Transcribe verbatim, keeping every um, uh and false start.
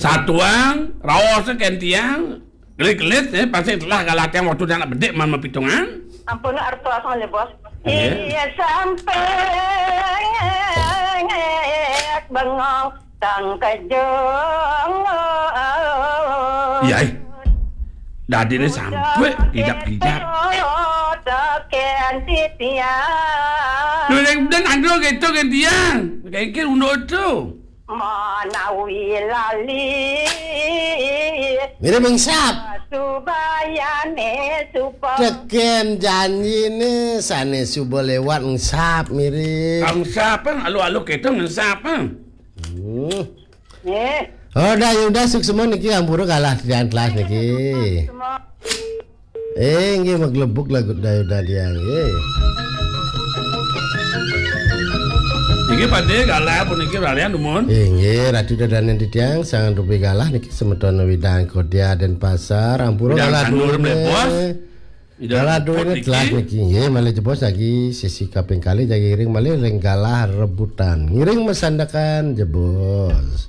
Tatuang, raos kén tiang, gelit-gelit, eh, pasti telah galah tiang waktu tiang nak bedik man mapitungan. Ampun, artos ngalih, Bos. Iya. Iya, sampai bengong tang kejong. Iya, eh. Dadi ni sampai kidap-kidap. Tekén titiang. Lu yang dan ando gitu kén tiang. Kayak gitu unduk tu. Manawi lali. Mirip engsap. Subayane supa. Tekén janjine sane suba lewat engsap mirip. Engsap, eh. Alu-alu gitu engsap, eh. Hmm. Eh. Oh, dah, ya udah, suksma niki ampura galah tiang telas niki. Semua. Eh, nggih, maglebuk lagu Dayuda Diang, nggih. Inggih, Pak De, galah puniki ralian dumun. Inggih, Ratu Dadanen Titiang, sangang rupi galah niki semeton Widang Kodia Denpasar, ampura Widang galah Sanur duwene. Mlebos. Widang Galah Luput duwene niki. Telas niki, nggih, malih jebos lagi sesi kaping kalih jagi iring malih ring galah rebutan. Ngiring masandekan jebos.